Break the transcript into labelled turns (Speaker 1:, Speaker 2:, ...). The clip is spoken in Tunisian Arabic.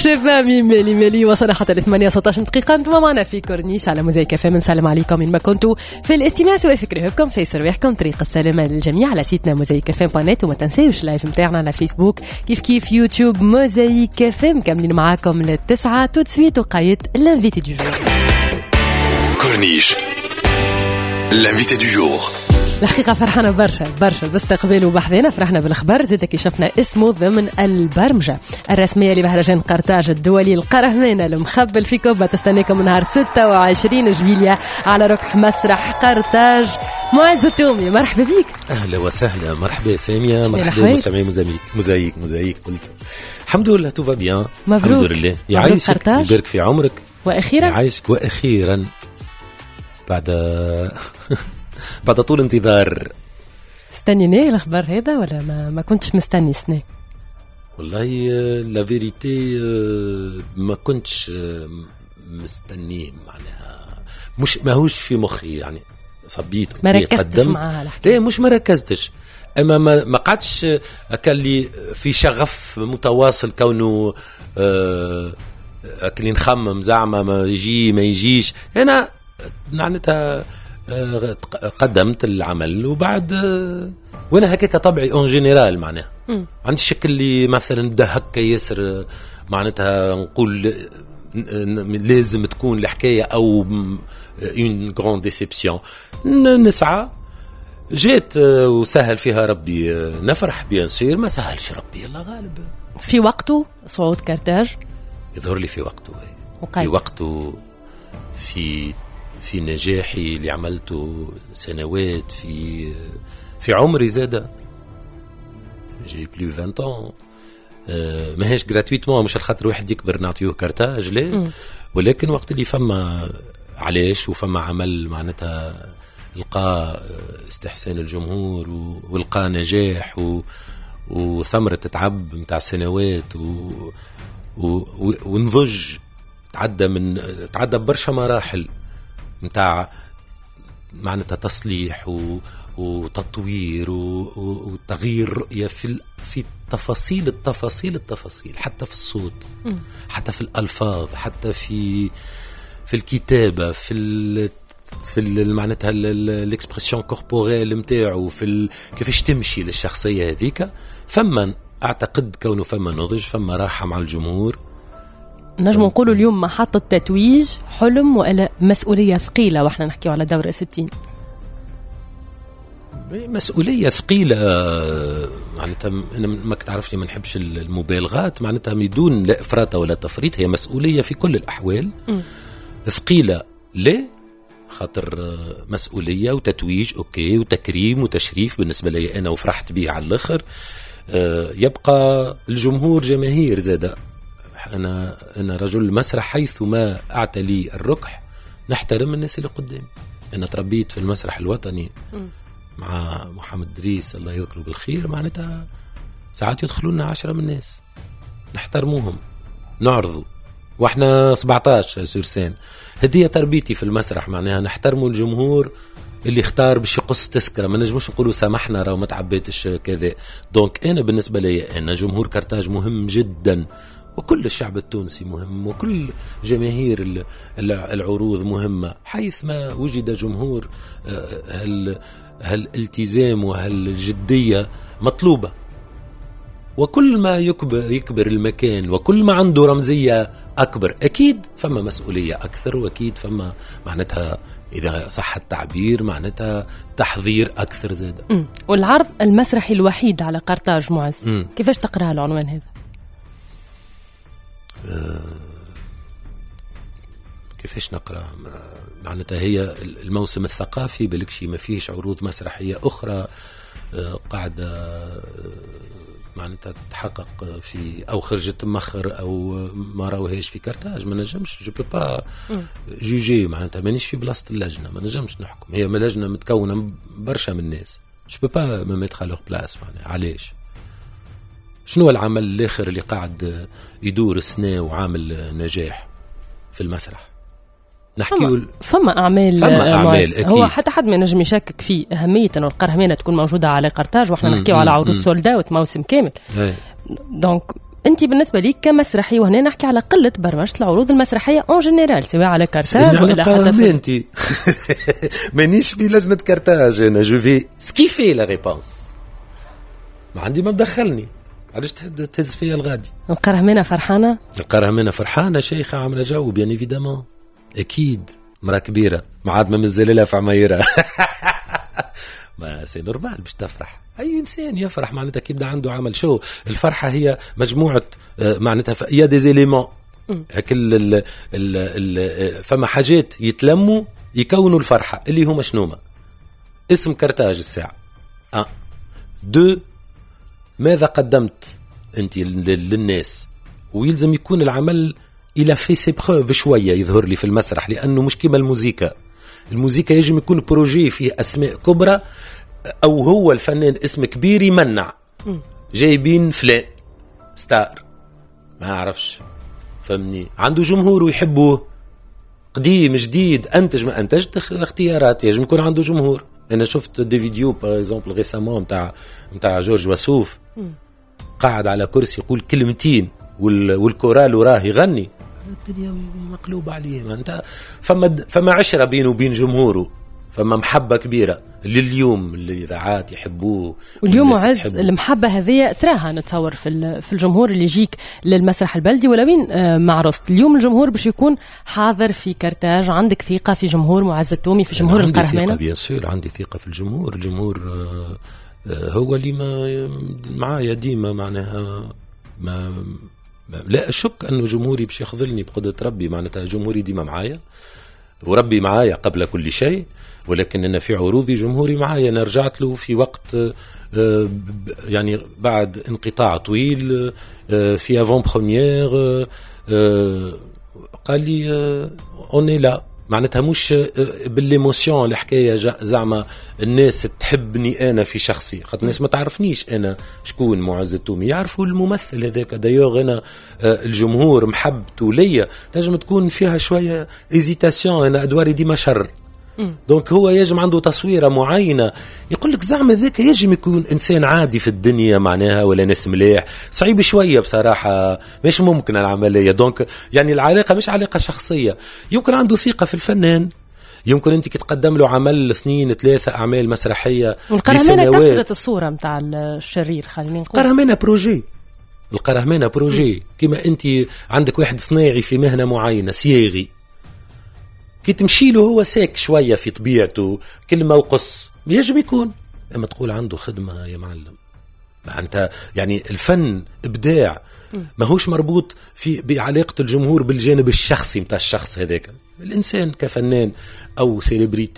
Speaker 1: شباب مالي مالي. وصلنا حتى ل 8 16 دقيقة، انتم معنا في كورنيش على موزايك اف ام. نسلم عليكم من ما كنتوا في الاستماع، سواء في كرهبكم سيسر رواحكم، طريق السلامة للجميع على site نا موزايك اف ام point net، وما تنساوش live نتاعنا على فيسبوك كيف كيف يوتيوب موزايك اف ام. كاملين معاكم للتسعة tout de suite وقاية l'invité du jour.
Speaker 2: كورنيش l'invité du jour.
Speaker 1: الحقيقة فرحانة برشا برشا باستقباله بحذنا، فرحنا بالخبر زاد كي شفنا اسمه ضمن البرمجة الرسمية لمهرجان قرطاج الدولي القرهمانة المخبل في كوبا. تستناكم نهار 26 جويليا على ركح مسرح قرطاج. معز التومي مرحبا بك.
Speaker 3: أهلا وسهلا، مرحبا سامية، مرحبا مستمعي موزايك موزايك. قلت الحمد لله tout va bien،
Speaker 1: مبروك
Speaker 3: الحمد لله. يعيشك يبارك في عمرك.
Speaker 1: وأخيرا
Speaker 3: يعيشك، وأخيرا بعد طول انتظار.
Speaker 1: استنيناه الخبر هذا ولا ما كنتش مستني سنة؟
Speaker 3: والله la vérité ما كنتش مستنيه، معناها مش ماهوش في مخي يعني. صبيت
Speaker 1: ما ركزتش معاها الحكاية.
Speaker 3: لا مش ما ركزتش، اما ما قعدتش اللي في شغف متواصل كونه اللي نخمم زعما ما يجي ما يجيش. انا معناتها قدمت العمل وبعد وانا هكاك طبعي en général، معناها عندي الشكل اللي مثلا بدا هكا ياسر، معناتها نقول لازم تكون الحكاية او une grande déception. نسعى، جيت وسهل فيها ربي نفرح bien sûr، ما سهلش ربي الله غالب.
Speaker 1: في وقته صعود كرتاج
Speaker 3: يظهر لي في وقته، في وقته، في نجاحي اللي عملته سنوات، في عمري زادة j'ai plus 20 ans. ماهيش gratuitement، مش الخاطر واحد يكبر نعطيوه كارتاج لا، ولكن وقت اللي فما علاش وفما عمل معناتها لقى استحسان الجمهور ولقى نجاح وثمرة تعب متاع سنوات ونضج، تعدى برشا مراحل متاع معناتها تصليح وتطوير وتغيير رؤية في تفاصيل التفاصيل التفاصيل، حتى في الصوت، حتى في الألفاظ، حتى في الكتابة، في معناتها l'expression corporelle نتاعو، في كيفاش تمشي للشخصية هذيك. فما أعتقد كونه فما نضج، فما راحة مع الجمهور.
Speaker 1: نجم نقولوا اليوم محطة تتويج حلم ولا مسؤولية ثقيلة، واحنا نحكيو على دورة 60؟
Speaker 3: مسؤولية ثقيلة معناتها، أنا ما تعرفني ما نحبش المبالغات، معناتها بدون لا إفراط ولا تفريط، هي مسؤولية في كل الأحوال. ثقيلة ليه؟ خاطر مسؤولية وتتويج OK، وتكريم وتشريف بالنسبة لي أنا، وفرحت به على الآخر. يبقى الجمهور جماهير زادة. أنا رجل مسرح، حيث ما أعتلي الركح نحترم الناس اللي قدامي. أنا تربيت في المسرح الوطني مع محمد دريس الله يذكره بالخير، معناتها ساعات يدخلون 10 من الناس نحترموهم نعرضوا واحنا 17 sur scène. هذه تربيتي في المسرح، معناها نحترموا الجمهور اللي اختار باش يقص تسكره، ما نجموش نقولوا سامحنا راه ما تعبيتش كذا. donc أنا بالنسبة لي أنا جمهور كرتاج مهم جدا، وكل الشعب التونسي مهم، وكل جماهير العروض مهمة. حيث ما وجد جمهور هالالتزام وهالجدية مطلوبة، وكل ما يكبر المكان وكل ما عنده رمزية أكبر أكيد فما مسؤولية أكثر، وأكيد فما معناتها إذا صح التعبير معناتها تحضير أكثر زاد.
Speaker 1: والعرض المسرحي الوحيد على قرطاج معز، كيفاش تقرأ العنوان هذا؟
Speaker 3: كيفاش نقرأ؟ معناتها هي الموسم الثقافي بالكشي ما فيش عروض مسرحية أخرى قاعدة معناتها تحقق في أو خرجت مخر أو ما راوهاش في كرتاج. ما نجمش je peux pas juger، معناتها مانيش في بلاصة اللجنة، ما نجمش نحكم. هي لجنة متكونة برشا من الناس، je peux pas me mettre à leur place. معناها علاش؟ شنو العمل الآخر اللي قاعد يدور السنة وعامل نجاح في المسرح؟ نحكي
Speaker 1: فما اعمال أكيد. هو حتى حد ما ينجم يشكك في اهمية انه القرهمانه تكون موجودة على قرطاج، واحنا نحكيو على عروض sold out موسم كامل. donc انت بالنسبة ليك كمسرحي، وهنا نحكي على قلة برمجة العروض المسرحية en général، سواء على كارتاج ولا حتى
Speaker 3: انت مانيش في لجنة كارتاج، انا je vais esquiver la réponse، ما عندي ما مدخلني، علاش تهز فيا الغادي؟
Speaker 1: القرهمانه فرحانه؟
Speaker 3: القرهمانه فرحانه، شيخه، عامله جو، bien évidemment، اكيد مراة كبيرة ما عاد ما مازال لها في عمايرها، mais c'est normal باش تفرح. اي انسان يفرح معناتها كي يبدا عنده عمل. شو الفرحه؟ هي مجموعه، معناتها il y a des éléments، هكل ال ال ال فما حاجات يتلموا يكونوا الفرحه، اللي هما شنوما؟ اسم كرتاج الساعه، un، deux، ماذا قدمت انت للناس، ويلزم يكون العمل il a fait ses preuves شويه، يظهر لي في المسرح، لانه مش كيما الموزيكا. الموزيكا يجب يكون projet فيه اسماء كبرى او هو الفنان اسم كبير يمنع، جايبين فلان star ما نعرفش، فهمني، عنده جمهور ويحبوه، قديم جديد، انتج ما انتجت، اختيارات، يجب يكون عنده جمهور. انا شفت des vidéos par exemple récemment نتاع جورج وسوف قاعد على كرسي يقول كلمتين والكورال وراه يغني، الدنيا مقلوبة عليه. انت فما عشرة بينه وبين جمهوره، فما محبة كبيرة لليوم، الاذاعات يحبوه.
Speaker 1: واليوم معز، المحبة هذه تراها نتصور في الجمهور اللي يجيك للمسرح البلدي ولا وين معرضت. اليوم الجمهور باش يكون حاضر في كرتاج، عندك ثقة في جمهور معز التومي، في جمهور القرهمانه؟
Speaker 3: عندي ثقه، bien sûr عندي ثقة في الجمهور. الجمهور هو اللي ما معايا ديما، معناها ما لا اشك انه جمهوري باش يخذلني بقدره ربي. معناتها جمهوري ديما معايا وربي معايا قبل كل شيء، ولكن انا في عروضي جمهوري معايا. انا رجعت له في وقت يعني بعد انقطاع طويل في avant-première قال لي on est là. معناتها مش بال l'émotion الحكايه، زعما الناس تحبني انا في شخصي، خاطر الناس ما تعرفنيش انا شكون معز التومي، يعرفوا الممثل هذاك. d'ailleurs انا الجمهور محبته ليا تنجم تكون فيها شوية hésitation، انا ادواري ديما شر، donc هو يجم عنده تصويره معينه، يقول لك زعما ذاك يجم يكون انسان عادي في الدنيا معناها ولا ناس مليح. صعيب شوية بصراحه، مش ممكن العمليه. donc يعني العلاقة مش علاقة شخصيه، يمكن عنده ثقة في الفنان، يمكن انت كي تقدم له عمل، اثنين، ثلاثة اعمال مسرحيه.
Speaker 1: القرهمانه كسرت الصورة نتاع الشرير، خلينا نقول.
Speaker 3: القرهمانه projet، القرهمانه projet. كما انت عندك واحد صنايعي في مهنة معينه، صياغي، كي تمشي له هو sec شوية في طبيعته، كلمة وقص يجب يكون، اما تقول عنده خدمة يا معلم. معناتها يعني الفن ابداع، ماهوش مربوط في بعلاقة الجمهور بالجانب الشخصي نتاع الشخص هذاك، الانسان كفنان او célébrité.